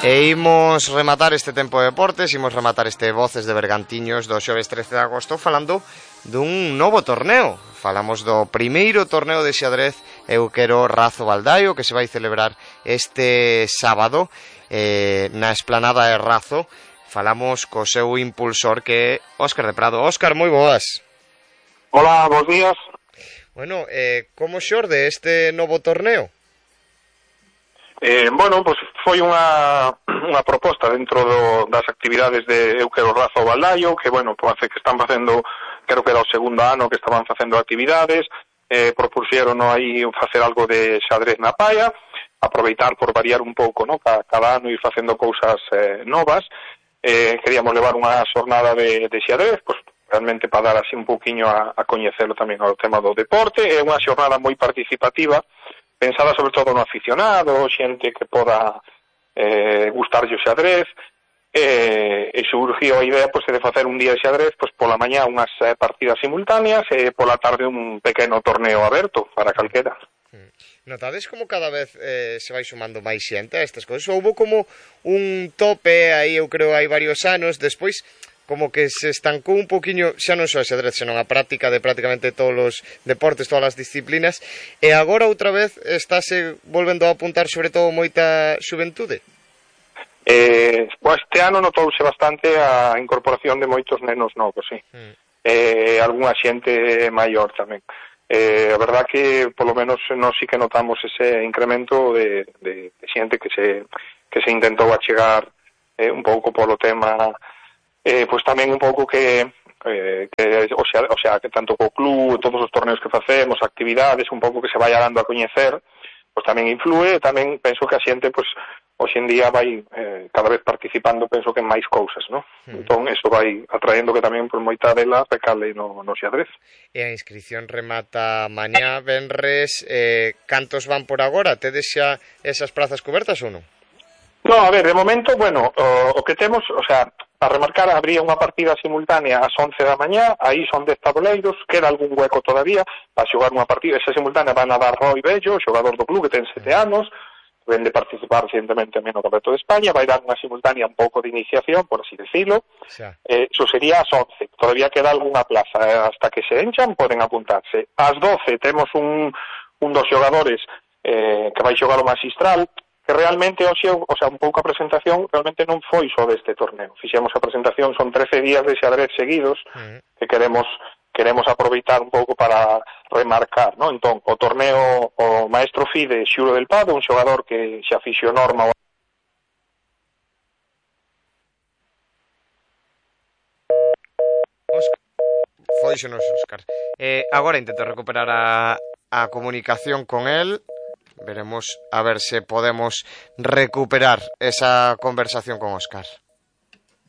E imos rematar este tempo de deportes, imos rematar este Voces de Bergantiños do xoves 13 de agosto falando dun novo torneo. Falamos do primeiro torneo de xadrez Euquero Razo Baldaio que se vai celebrar este sábado na esplanada de Razo. Falamos co seu impulsor que é Óscar de Prado. Óscar, moi boas. Hola, bons días. Bueno, como xorde este novo torneo? Bueno, pues foi unha proposta dentro das actividades de Euquero Razo Baldaio, que, bueno, pues que están facendo, creo que era o segundo ano que estaban facendo actividades, propuxeron aí facer algo de xadrez na praia, aproveitar por variar un pouco, ¿no? Cada ano ir facendo cousas novas. Queríamos levar unha xornada de xadrez, pues realmente para dar así un pouquiño a coñecelo tamén ao tema do deporte. É unha xornada moi participativa, pensada sobre todo no aficionado, xente que poda gustarlle o xadrez, e surgiu a idea pues, de facer un día de xadrez pues, pola mañá unhas partidas simultáneas e pola tarde un pequeno torneo aberto para calquera. Notades como cada vez se vai sumando máis xente a estas cousas? Houbo como un tope aí, eu creo, hai varios anos, despois como que se estancou un poquinho, xa non só a xadrez, senón a práctica de prácticamente todos os deportes, todas as disciplinas, e agora outra vez estáse volvendo a apuntar sobre todo moita xuventude? Este ano notouse bastante a incorporación de moitos nenos novos, sí. Algunha xente maior tamén. A verdad que, polo menos, nós sí que notamos ese incremento de xente que se intentou achegar un pouco polo tema pois tamén un pouco que que tanto co club, todos os torneos que facemos, actividades, un pouco que se vai dando a coñecer, pois tamén influe, tamén penso que a xente, pois, hoxe en día vai cada vez participando, penso que en máis cousas, non? Entón, eso vai atraendo que tamén, pois, moita dela recale no xadrez. E a inscripción remata mañá, venres, cantos van por agora? Tedes xa esas prazas cobertas ou non? No, a ver, de momento, bueno, o que temos, o sea, a remarcar, habría unha partida simultánea ás 11 da mañá, aí son 10 tabuleiros, queda algún hueco todavía para xogar unha partida, esa simultánea van a dar Roy Bello, xogador do club que ten 7 anos, ven de participar recientemente no Campeonato de España, vai dar unha simultánea un pouco de iniciación, por así decirlo, eso sería ás 11, todavía queda algunha plaza, hasta que se enchan poden apuntarse. Ás 12 temos un dos xogadores que vai xogar o Magistral, que realmente hoxe, o sea, un pouco a presentación realmente non foi só deste torneo. Fixemos a presentación, son 13 días de xadrez seguidos que queremos aproveitar un pouco para remarcar, ¿no? Entón, o torneo, o maestro Fide Xuro del Pado, un xogador que xa fixo norma Foíxonos, Óscar. Agora intento recuperar a comunicación con él. Veremos a ver se podemos recuperar esa conversación con Óscar.